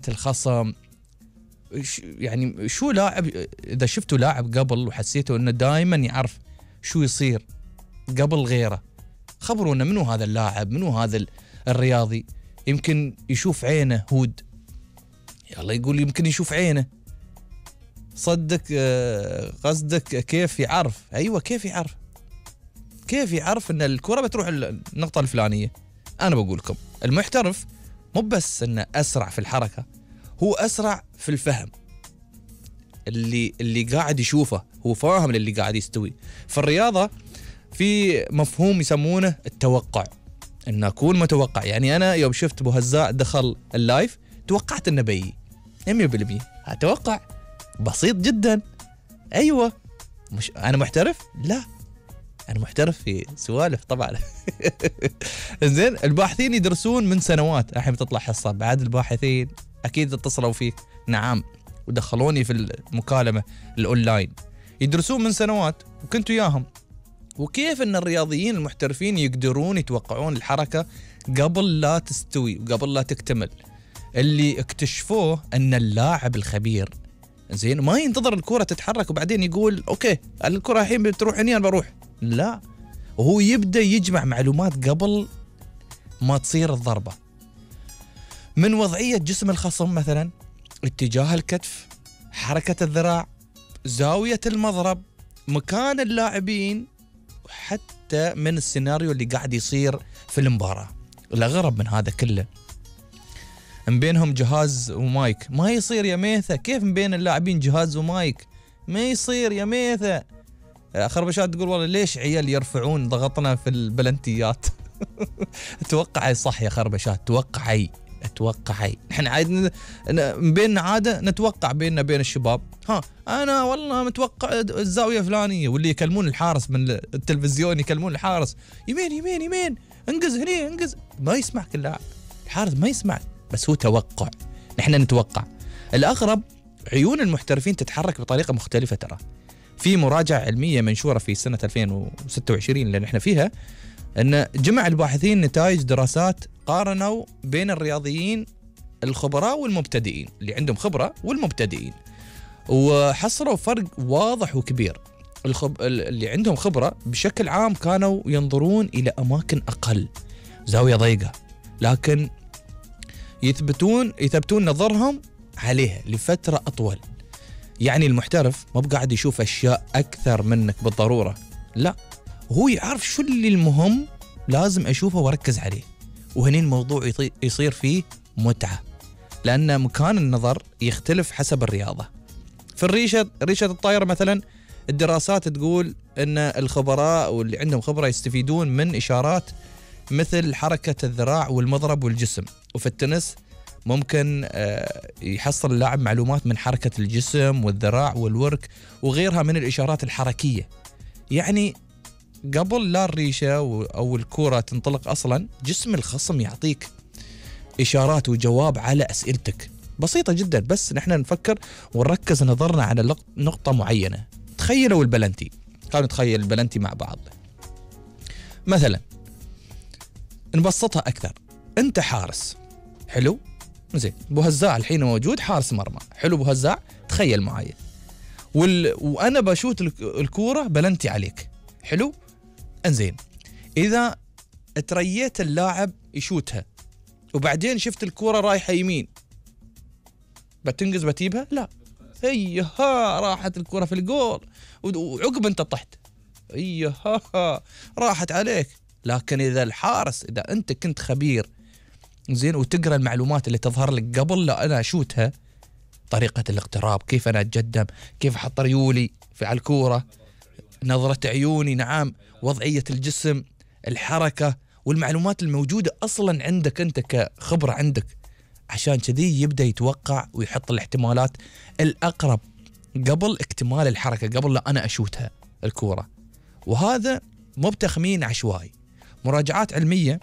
الخصم. يعني شو لاعب إذا شفتوا لاعب قبل وحسيتوا إنه دائما يعرف شو يصير قبل غيره، خبرونا منو هذا اللاعب، منو هذا الرياضي. يمكن يشوف عينه هود، يلا يقول يمكن يشوف عينه. صدق قصدك كيف يعرف؟ أيوة كيف يعرف؟ كيف يعرف إن الكرة بتروح النقطة الفلانية؟ أنا بقول لكم المحترف مو بس إنه أسرع في الحركة، هو أسرع في الفهم. اللي قاعد يشوفه هو فاهم اللي قاعد يستوي. في الرياضة في مفهوم يسمونه التوقع، إن أكون متوقع. يعني أنا يوم شفت أبو هزاع دخل اللايف توقعت إنه بيجي 100%. أتوقع بسيط جدا. أيوة مش أنا محترف؟ لا أنا محترف في سوالف طبعا. زين الباحثين يدرسون من سنوات. الحين بتطلع حصة بعد الباحثين أكيد اتصلوا فيك. نعم ودخلوني في المكالمة الأونلاين. يدرسون من سنوات وكنت وياهم، وكيف أن الرياضيين المحترفين يقدرون يتوقعون الحركة قبل لا تستوي وقبل لا تكتمل. اللي اكتشفوه أن اللاعب الخبير زين ما ينتظر الكرة تتحرك وبعدين يقول أوكي الكرة الحين بتروح هني أنا بروح. لا، وهو يبدأ يجمع معلومات قبل ما تصير الضربة، من وضعية جسم الخصم مثلا، اتجاه الكتف، حركة الذراع، زاوية المضرب، مكان اللاعبين، وحتى من السيناريو اللي قاعد يصير في المباراة. الأغرب من هذا كله من بينهم جهاز ومايك. ما يصير يا ميثة، كيف من بين اللاعبين جهاز ومايك؟ ما يصير يا ميثة. خربشات تقول والله ليش عيال يرفعون ضغطنا في البلنتيات. توقعي صح يا خربشات، توقعي. احنا عاد من بيننا عادة نتوقع بيننا بين الشباب. انا والله متوقع الزاوية فلانية، واللي يكلمون الحارس من التلفزيون يكلمون الحارس يمين انقز هني انقز. ما يسمع كل لاعب، الحارس ما يسمع، بس هو توقع. نحن نتوقع. الأغرب عيون المحترفين تتحرك بطريقة مختلفة. ترى في مراجعة علمية منشورة في سنة 2026 اللي نحن فيها، أن جمع الباحثين نتائج دراسات قارنوا بين الرياضيين الخبراء والمبتدئين، اللي عندهم خبرة والمبتدئين، وحصلوا فرق واضح وكبير. اللي عندهم خبرة بشكل عام كانوا ينظرون إلى أماكن أقل، زاوية ضيقة، لكن يثبتون نظرهم عليها لفترة أطول. يعني المحترف ما بقاعد يشوف أشياء أكثر منك بالضرورة، لا، هو يعرف شو اللي المهم لازم أشوفه وأركز عليه. وهنا الموضوع يصير فيه متعة، لأن مكان النظر يختلف حسب الرياضة. في ريشة الطائرة مثلا، الدراسات تقول أن الخبراء واللي عندهم خبرة يستفيدون من إشارات مثل حركة الذراع والمضرب والجسم. وفي التنس ممكن يحصل اللاعب معلومات من حركة الجسم والذراع والورك وغيرها من الإشارات الحركية. يعني قبل لا الريشة أو الكرة تنطلق أصلا، جسم الخصم يعطيك إشارات وجواب على أسئلتك بسيطة جدا. بس نحن نفكر ونركز نظرنا على نقطة معينة. تخيلوا البلنتي، خلينا نتخيل البلنتي مع بعض. مثلا نبسطها أكثر، أنت حارس، حلو؟ زين، أبو هزاع الحين موجود حارس مرمى، حلو أبو هزاع، تخيل معايا. وأنا بشوت الكورة بلنتي عليك، حلو؟ انزين، إذا تريت اللاعب يشوتها وبعدين شفت الكورة رايحة يمين، بتنقز بتجيبها؟ لا، ايها راحت الكرة في الجول، وعقب انت طحت، ايها راحت عليك. لكن اذا الحارس، اذا انت كنت خبير زين وتقرا المعلومات اللي تظهر لك قبل لا انا اشوتها، طريقة الاقتراب، كيف انا اتقدم، كيف احط ريولي على الكورة، نظرة عيوني، نعم، وضعية الجسم، الحركة، والمعلومات الموجودة اصلا عندك انت كخبرة عندك، عشان كذي يبدأ يتوقع ويحط الاحتمالات الأقرب قبل اكتمال الحركة، قبل لا أنا أشوتها الكورة. وهذا مو بتخمين عشوائي. مراجعات علمية،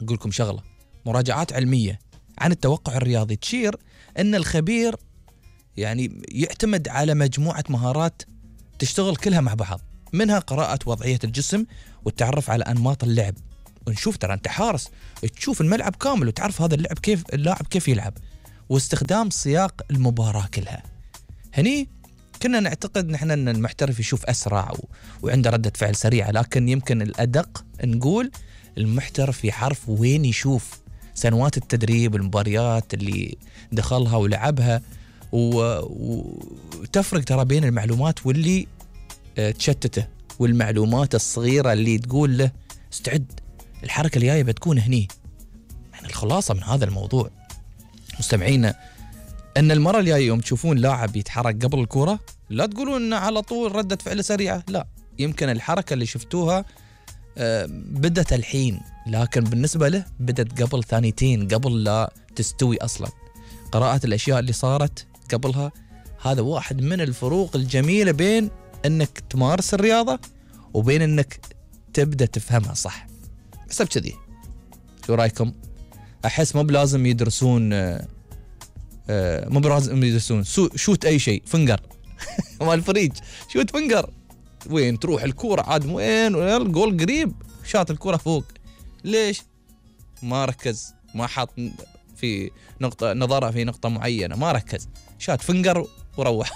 أقول لكم شغلة، مراجعات علمية عن التوقع الرياضي تشير أن الخبير يعني يعتمد على مجموعة مهارات تشتغل كلها مع بعض، منها قراءة وضعية الجسم والتعرف على أنماط اللعب. ونشوف ترى أنت حارس تشوف الملعب كامل وتعرف هذا اللاعب كيف يلعب، واستخدام سياق المباراة كلها. هني كنا نعتقد نحن أن المحترف يشوف أسرع وعنده ردة فعل سريعة، لكن يمكن الأدق نقول المحترف يعرف وين يشوف سنوات التدريب، المباريات اللي دخلها ولعبها، وتفرق ترى بين المعلومات واللي تشتته، والمعلومات الصغيرة اللي تقول له استعد الحركة اللي جاية بتكون هني. يعني الخلاصة من هذا الموضوع مستمعينا أن المرة الجاية يوم تشوفون لاعب يتحرك قبل الكرة لا تقولون أنه على طول ردة فعل سريعة، لا، يمكن الحركة اللي شفتوها بدت الحين، لكن بالنسبة له بدت قبل ثانيتين قبل لا تستوي أصلا. قراءة الأشياء اللي صارت قبلها، هذا واحد من الفروق الجميلة بين أنك تمارس الرياضة وبين أنك تبدأ تفهمها صح. حسب كذي شو رأيكم؟ أحس مو بلازم يدرسون مو بلازم يدرسون شوت أي شيء فنجر مال الفريج، شوت فنجر وين تروح الكورة عاد وين الجول قريب، شاط الكورة فوق. ليش؟ ما ركز، ما حط في نقطة نظرة في نقطة معينة، ما ركز، شات فنجر وروح.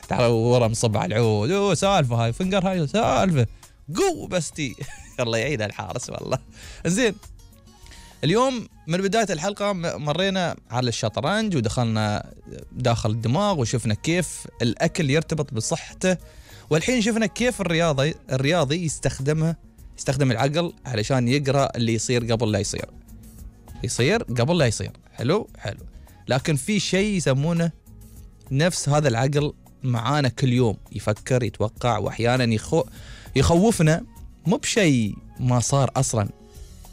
تعال ورا مصب على العود، سالفة هاي فنجر، هاي سالفة قو بستي. الله يعيد الحارس والله. زين، اليوم من بداية الحلقة مرينا على الشطرنج ودخلنا داخل الدماغ وشفنا كيف الأكل يرتبط بصحته، والحين شفنا كيف الرياضي يستخدم العقل علشان يقرأ اللي يصير قبل لا يصير قبل لا يصير. حلو. لكن في شيء يسمونه نفس هذا العقل معانا كل يوم، يفكر يتوقع، وأحيانا يخوفنا مو بشيء ما صار أصلا،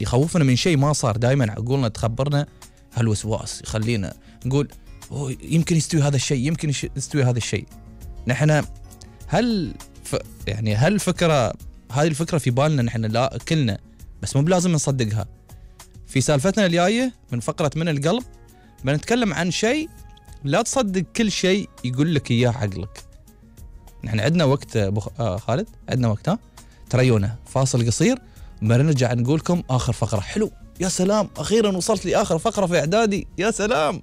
يخوفنا من شيء ما صار. دائما عقولنا تخبرنا هالوسواس يخلينا نقول يمكن يستوي هذا الشيء، يمكن يستوي هذا الشيء. نحن هل هذه الفكرة في بالنا نحن لا كلنا، بس مو بلازم نصدقها. في سالفتنا الجاية من فقرة من القلب بنتكلم عن شيء لا تصدق كل شيء يقول لك إياه عقلك. نحن عندنا وقت خالد، عندنا وقت، تريونا فاصل قصير بنرجع نقولكم آخر فقرة. حلو، يا سلام، أخيرا وصلت لي آخر فقرة في إعدادي، يا سلام.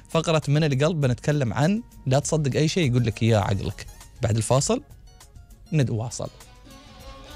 فقرة من القلب بنتكلم عن لا تصدق أي شيء يقول لك إياه عقلك. بعد الفاصل نتواصل.